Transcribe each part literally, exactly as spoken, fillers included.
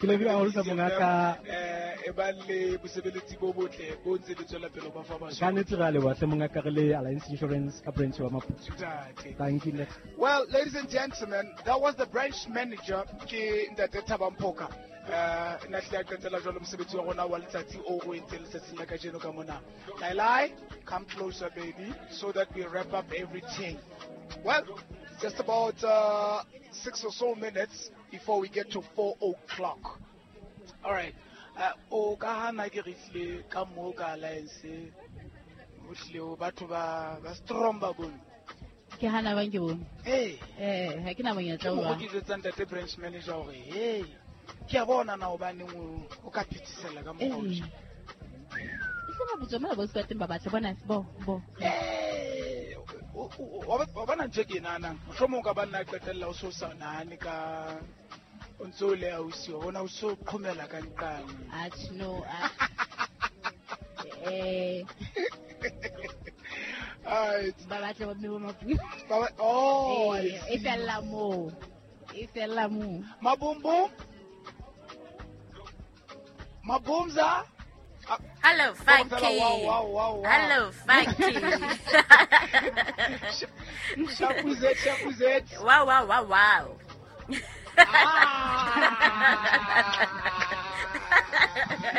Ke lebohile haholo hle mongaka. Eh e ba le bosebeletsi bo botle bo ntse le tswela pele ba fa batho. Ka nnete re a leboha hle mongaka re le Alliance Insurance ka branch wa Maputswe. Ntate. Thank you. Well, ladies and gentlemen, that was the branch manager ke Ntate Thabo Mpoka. Eh nna hlile a qetela jwalo mosebetsi wa rona wa letsatsi o o entseng letsatsing la kajeno ka mona. Lailai, come closer baby so that we wrap up everything. Well, just about uh, six or so minutes before we get to four o'clock. All right. Uh, o ka hana ke re hlile ka mo ka Alliance o hlile o batho ba ba strong ba bone. Ke hana bang ke bone. Eh. Eh, ha ke na monyetla Ke o mo jwang. ke jwetsa ntate branch manager hore hey, ke a bona na hobaneng o o ka phethesela ka mokgwa o Eh. tje. E se Maputswe mona bo se ba teng ba batle bona bo bo. Eh, o- o- wa wa bona ntho e ke e nahanang mohlomong o ka ba nna qetella o so sa nahane ka o ntso o le ausi wa bona o so qhomela ka nqane. Atjhe no. a- Eh, Alright. ba batle ba mme bo Maputswe. Ba ba- Oh, I Eh, e see. fella moo. E fella moo. Mabumbu? Mabumza? Ah, Hello, Funky. Wow, wow, wow, wow. Hello, Funky. Shapuzet, shapuzet. Wow, wow, wow, wow. Ah.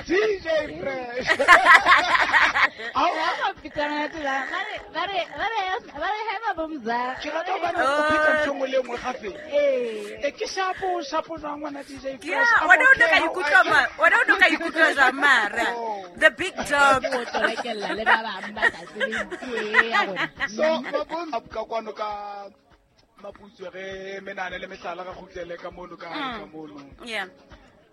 D J Fresh. Ba pitsana tsela. Ba re ba re ba re ba re he Mabumza. Ke rata hobane o pheta ntho e nngwe le e nngwe kgafetsa. Eh. E ke shapo, shapo jwang ngwana D J Fresh? Yeah, I'm wena o no okay, ka how ikutlwa are you? ma- wena o no ka ikutlwa jwang mara? Oh. The big dog. O tolekella le ba bang ba sa tsebeng puo e ya rona. So, Mabumza, ka kwano ka Maputswe re menane le mehlala re kgutlele ka mono ka hae ka mono. Yeah.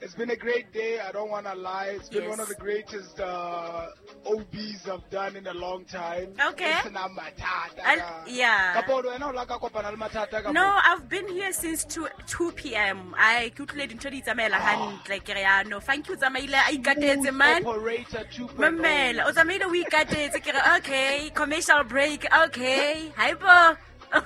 It's been a great day. I don't wanna lie. It's been Yes. one of the greatest, uh, O Bs I've done in a long time. Okay. It's na mathata I'll, ka. yeah. Kapa o wena o la ka kopana le mathata ka No, mo? I've been here since two, two P M. I ke utlwile dintho di tsamaela hantle ke re ya no. Thank you tsamaile a ikatetse Smooth man. Operator two point oh. Mamela, o tsamaile o ikatetse ke re okay, commercial break, okay. Haibo. O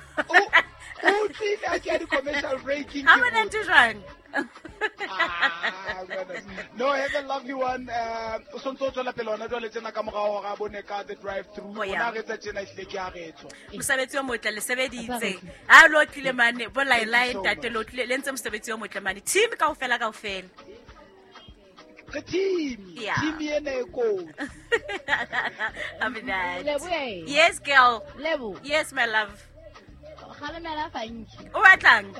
o tlile a ke ya di-commercial breaking. Ha monate jwang? Ah, goodness. No, have a lovely one. Uh, o sontso o tswela pele hona jwale tjena ka morao hore a bone ka the drive through. Oh, yeah. Ona re etsa tjena ehlile ke a re tswa. Mosebetsi o motle le sebeditse. Apartment. Ha lo tlile mane bo lai lai Thank you so ntate lo much. tlile le ntse mosebetsi o motle mane. Team kaofela kaofela. Re team. Yeah. Team ena e kotsi. Have a nice. Lebo e. Yes, girl. Lebo. Yes, my love. Kgalemela Funky. O batlang?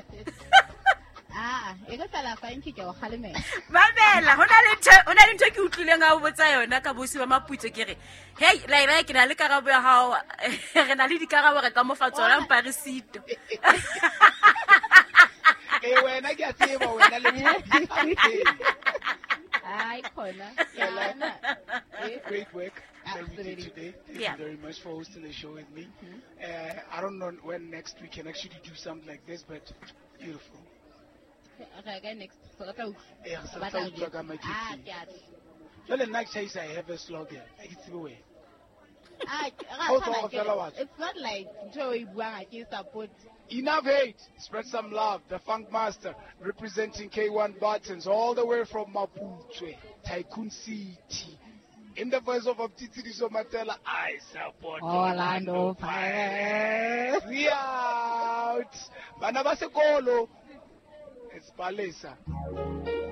Ah, e re fela Funky ke o kgalemela. Mamela, ho na le ntho, ho na le ntho ke utlwileng ha o botsa yona ka bosi ba Maputswe ke re, hey, Laila ke na le karabo ya hao. Re na le dikarabo re ka mo fa tsona mpa re sito. Eh, wena ke a tseba wena le Thabi. Ai, khona. Yana. Eh. Great work that we did Absolutely. today. Thank Yeah. you very much for hosting the show with me. Uh, I don't know when next we can actually do something like this, but beautiful. Re ka next. So re tla utlwa. Eh, re sa Ba tla tla utlwa ka utlwa. makgetlong. Ah, ke a tla. Jwale nna ke tjhaisa, I have a slogan. Ha ke tsebe wena. Ah, ke- ra Ha o tshwana tswa ke- fela wa tswa. It's not like ntho e o e buang ha ke e support. Enough hate, spread some love. The Funk Master representing K one Buttons all the way from Maputswe, Tycoon City. In the voice of Aptitiriso Matela, I support Orlando Pirates. We out. Bana ba sekolo. It's Palesa.